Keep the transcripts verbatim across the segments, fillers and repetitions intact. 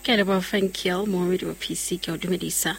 Ke a leboha Frankiel, moemedi wa P C, ke a o dumedisa.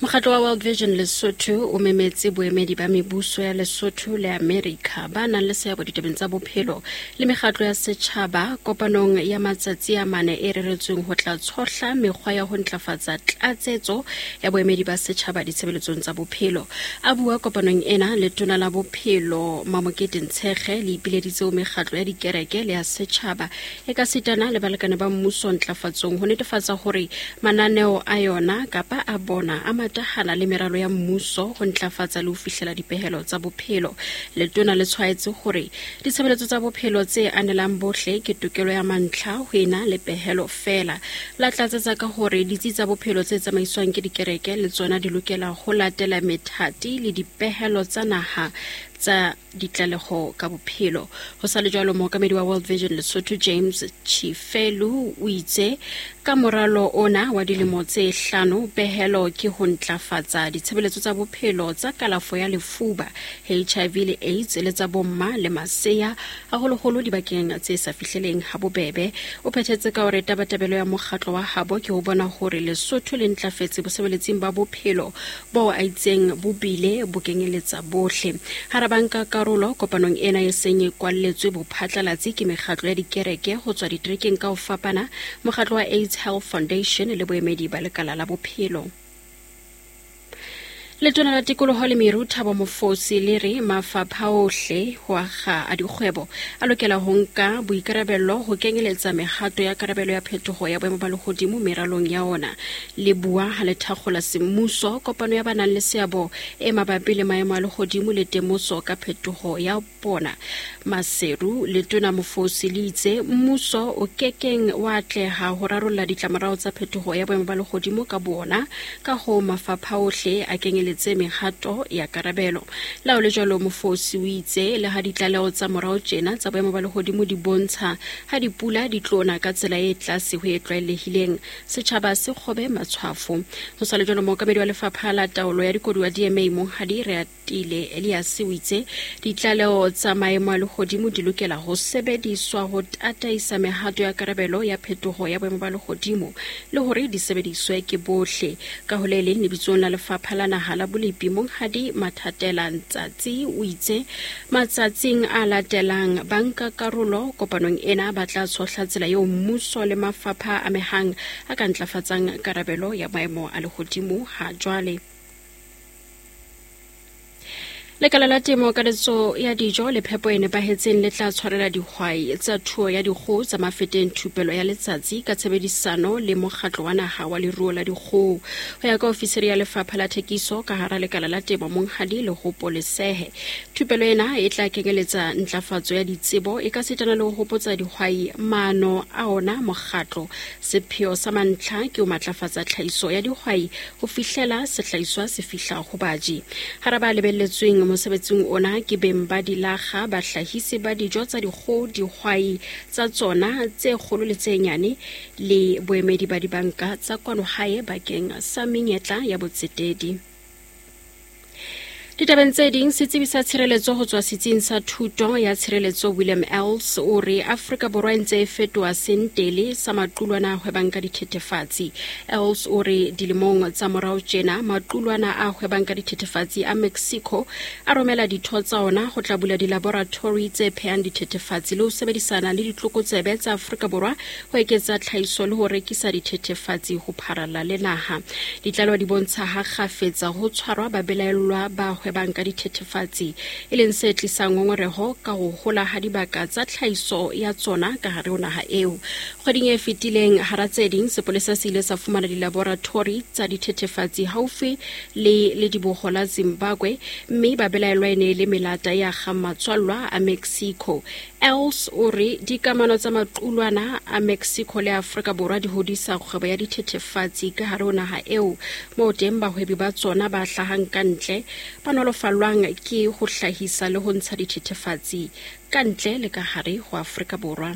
Mokgatlo wa World Vision Lesotho o memetse boemedi ba mebuso ya Lesotho le America ba nang le seabo ditabeng tsa bophelo le mekgatlo ya setjhaba kopanong ya matsatsi a mane e reretsweng ho tla tshohla mekgwa ya ho ntlafatsa tlatsetso ya boemedi ba setjhaba ditshebeletsong tsa bophelo. A bua kopanong ena, letona la bophelo Mamokete Ntshekge le ipileditse ho mekgatlo ya dikereke le ya setjhaba e ka sitana le balekane ba mmuso ntlafatsong ho netefatsa hore mananeo a yona kapa a bona a matahana le meralo ya mmuso ho ntlafatsa le ho fihlela dipehelo tsa bophelo. Letona le tshwaetse hore ditshebeletso tsa bophelo tse anelang bohle ke tokelo ya mantlha ho ena le pehelo feela. La tlatsetsa ka hore ditsi tsa bophelo tse tsamaiswang ke dikereke le tsona di lokela ho latela methati le dipehelo tsa naha tsa ditlaleho ka bophelo. Ho sa le jwalo, mookamedi wa World Vision Lesotho James Chifelu o itse ka moralo ona wa dilemo tse hlano, pehelo ke ho ntlafatsa ditshebeletso tsa bophelo tsa kalafo ya lefuba, H I V le AIDS le tsa bomma le masea, haholoholo dibakeng tse sa fihleleng ha bobebe. O phethetse ka hore tabatabelo ya mokgatlo wa habo ke ho bona hore Lesotho le ntlafetse bosebeletsing ba bophelo bo a itseng bo bile bo kenyeletsa bohle. Hara banka karolo kopanong ena e seng e kwalletswe bophatlalatsi ke mekgatlo ya dikereke ho tswa diterekeng ka ho fapana, mokgatlo wa AIDS Health Foundation le boemedi ba lekala la bophelo. Letona la tikoloho le meru Thabo Mofosi le re mafapha ohle ho akga a dikgwebo a lokela ho nka boikarabello ho kenyeletsa mehato ya karabelo ya phetoho ya boemo ba lehodimo meralong ya ona. Le bua ha le thakgola semmuso kopano ya ba nang le seabo e mabapi le maemo a lehodimo le temoso ka phetoho ya bona Maseru, letona Mofosi le itse mmuso o kekeng wa atleha ho rarolla ditlamorao tsa phetoho ya boemo ba lehodimo ka bona, ka ho mafapha ohle a kenyeletse mehato ya karabelo. La ho le jwalo, Mofosi o itse le ha ditlaleho tsa morao tjena tsa boemo ba lehodimo di bontsha ha dipula di tlona ka tsela e tlase ho e tlwaelehileng, setjhaba se kgobe matshwafo. Ho sa le jwalo, mookamedi wa lefapha la taolo ya dikoduwa D M A Monghadi Reatile Elias o itse ditlaleho tsa maemo a lehodimo di lokela ho sebediswa ho tataisa mehato ya karabelo ya phetoho ya boemo ba lehodimo le hore di sebediswe ke bohle. Ka ho le leng, lebitsong la lefapha la naha la bolepi Monghadi Mathatela Ntsatsi o itse matsatsing a latelang banka karolo kopanong ena ba tla tshohla tsela eo mmuso le mafapha a amehang a ka ntlafatsang karabelo ya maemo a lehodimo ha jwale. Lekala la temo ka letso ya dijo le phepo e nepahetseng le tla tshwarela dihwai tsa thuo ya dikgoho tsa Mafeteng thupelo ya letsatsi ka tshebedisano le mokgatlo wa naha wa leruo la dikgoho. Ho ya ka ofisiri ya lefapha la thekiso ka hara lekala la temo Monghadi Lehopo Lesehe, thupelo ena e tla kenyeletsa ntlafatso ya ditsebo e ka sitana le ho hopotsa dihwai maano a ona mokgatlo. Sepheo sa mantlha ke ho matlafatsa tlhahiso ya dihwai ho fihlela sehlahiswa se fihla ho baji. Hara ba lebelletsweng mosebetsing ona ke beng ba dilakga, bahlahisi ba dijo tsa dikgoho, dihwai tsa tsona tse kgolo le tse nyane le boemedi ba dibanka tsa kwano hae bakeng sa menyetla ya botsetedi. Ditabeng tse ding, setsebi sa tshireletso ho tswa setsing sa thuto ya tshireletso William Els o re Afrika Borwa e ntse e fetoha sentele sa maqulwana a hwebang ka dithethefatsi. Els o re dilemong tsa morao tjena maqulwana a hwebang ka dithethefatsi a Mexico a romela ditho tsa ona ho tla bula dilaboratori tse phehang dithethefatsi le ho sebedisana le ditlokotsebe tsa Afrika Borwa ho eketsa tlhahiso le ho rekisa dithethefatsi ho pharalla le naha. Ditlaleho di bontsha ha kgafetsa ho tshwarwa babelaellwa ba hwebang ka dithethefatsi, e leng se tlisang ngongoreho ka ho hola ha dibaka tsa tlhahiso ya tsona ka hare ho naha eo. Kgweding e fetileng, hara tse ding, sepolesa se ile sa fumana dilaboratori tsa dithethefatsi haufi le lediboho la Zimbabwe, mme babelaellwa e ne e le melata ya akgang matswallwa a Mexico. Els o re dikamano tsa maqulwana a Mexico le Afrika Borwa di hodisa kgwebo ya dithethefatsi ka hare ho naha eo, moo teng bahwebi ba tsona ba hlahang ka ntle ba nolofallwang ke ho hlahisa le ho ntsha dithethefatsi ka ntle le ka hare ho Afrika Borwa.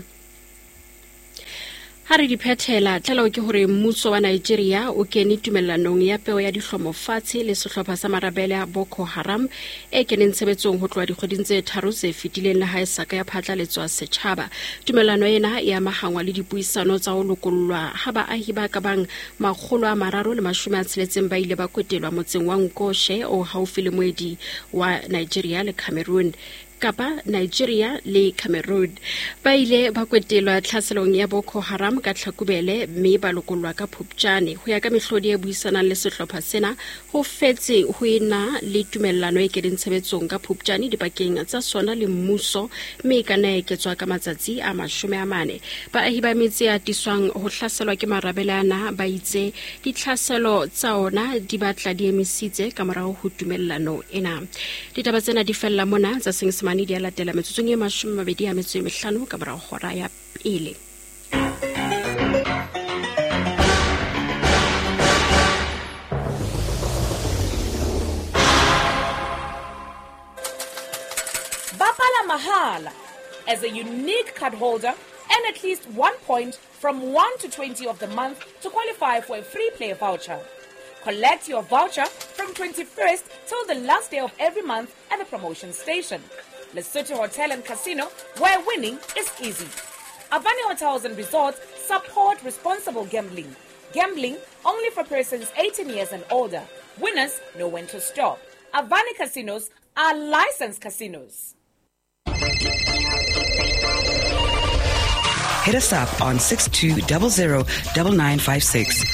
Ha re di phethela, tlaleho ke hore mmuso wa Nigeria o kene tumellanong ya peo ya dihlomo fatshe le sehlopha sa marabele a Boko Haram e keneng tshebetsong ho tloha dikgweding tse tharo tse fetileng le ha e sa ka ya phatlaletswa setjhaba. Tumellano ena e amahangwa le dipuisano tsa ho lokollwa ha baahi ba ka bang makgolo a mararo le mashome a tsheletseng ba ile ba kwetelwa motseng wa Nkoshe o haufi le moedi wa Nigeria le Cameroon. Kapa Nigeria le Cameroon. Ba ile ba kwetelwa tlhaselong ya Boko Haram ka Tlhakubele mme ba lokollwa ka Phupjane. Ho ya ka mehlodi e buisanang le sehlopha sena, ho fetse ho ena le tumellano e keneng tshebetsong ka Phupjane dipakeng tsa sona le mmuso, mme e ka nna ya eketswa ka matsatsi a mashome a mane. Baahi ba metse e atiswang ho hlaselwa ke marabele ana ba itse ditlhaselo tsa ona di batla di emisitse ka morao ho tumellano ena. Ditaba tsena di fella mona tsa Senyesemane di a latela metsotsong e mashome a mabedi a metso e mehlano ka morao hora ya pele. Bapala mahala as a unique card holder and at least one point from one to twenty of the month to qualify for a free play voucher. Collect your voucher from twenty-first till the last day of every month at the promotion station. Lesotho Hotel and Casino, where winning is easy. Avani Hotels and Resorts support responsible gambling. Gambling only for persons eighteen years and older. Winners know when to stop. Avani Casinos are licensed casinos. Hit us up on six two zero zero nine nine five six.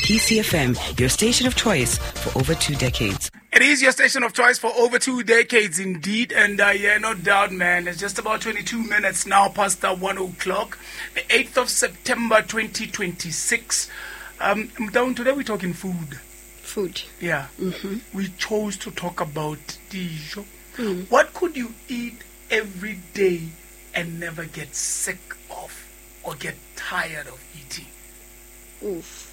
P C F M, your station of choice for over two decades. It is your station of choice for over two decades indeed. And uh, yeah, no doubt, man. It's just about twenty-two minutes now past the one o'clock, the eighth of September, twenty twenty-six. Um, down today we're talking food. Food. Yeah. Mm-hmm. We chose to talk about dijo. Mm. What could you eat every day and never get sick of or get tired of eating? Oof.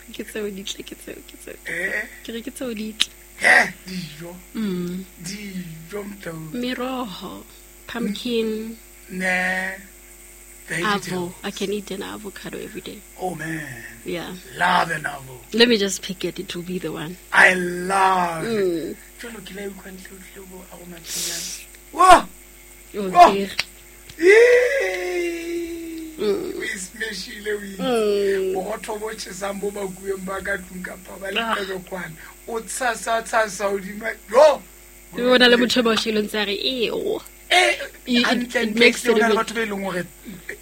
Ke tseo ditle, ke tseo, ke tseo. Eh? Ke re ke tseo ditle. Eh, dijo. Mm. Dijo, mtau. Meroho, pumpkin. Nah. Avo. I can eat an avocado every day. Oh, man. Yeah. Love an avo. Let me just pick it. It will be the one. I love mm. it. Whoa! Oh, dear. Mm. We smashile we. Borotho bo tjhesang bo bakuweng ba ka tlung kapa ba le kwana. O tshasa tshasa hodima. Yo. O na le motho ba shileng tsa re e o. Eh, it makes it batho ba eleng hore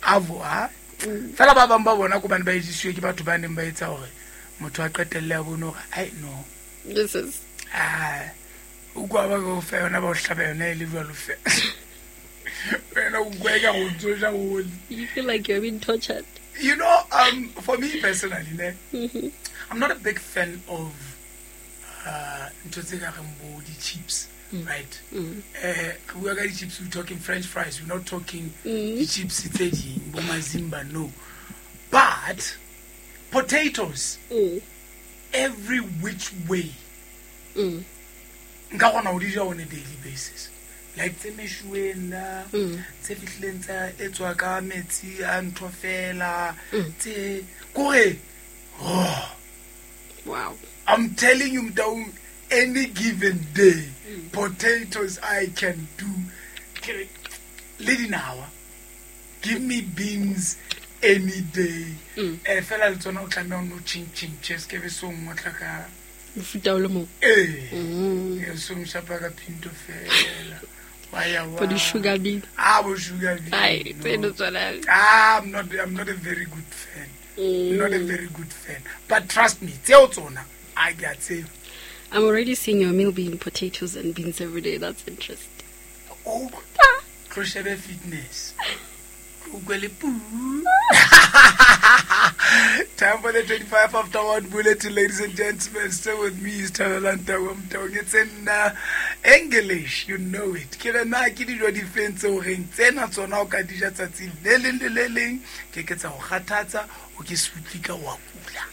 avo ha. Fela ba bang ba bona ko bane ba ejisiwe ke batho ba neng ba etsa hore motho a qetelle a bone hore ai no. This is ah o kwa ba go fa yona ba o hlaba yona e le jwalo fe. You feel like you're being tortured. You know, um, for me personally, ne, mm-hmm. I'm not a big fan of uh, chips, mm. right? Mm. Uh, we are getting chips, we're talking French fries, we're not talking mm. chips, mazimba, no. But potatoes, mm. every which way, mm. on a daily basis. Like tse meshuweng na tse fihlileng tsa etswa ka metsi a ntho fela tse kore oh wow, I'm telling you down any given day mm. potatoes I can do. Le dinawa, give me beans any day. Eh fela le tsona o tlameha o no chin chin che ke be so ngotla ka mofuta o le mong. Eh e so mshapa ka pinto fela. For the sugar bean. Ah, bo sugar bean. Ai, no. Ah, I'm not I'm not a very good fan. Mm. Not a very good fan. But trust me, tseo tsona I get it. I'm already seeing your meal being potatoes and beans every day. That's interesting. Oh, crochet fitness. Time for the twenty-five after one bulletin, ladies and gentlemen. Still with me is Thabela Motaung. It's in uh, English, you know it. Ke re na ke dijo di feng tseo reng tsena tsona o ka di ja tsatsi le leng le le leng, ke ke tsa go kgathatsa, o ke se utlwe ka wa kula.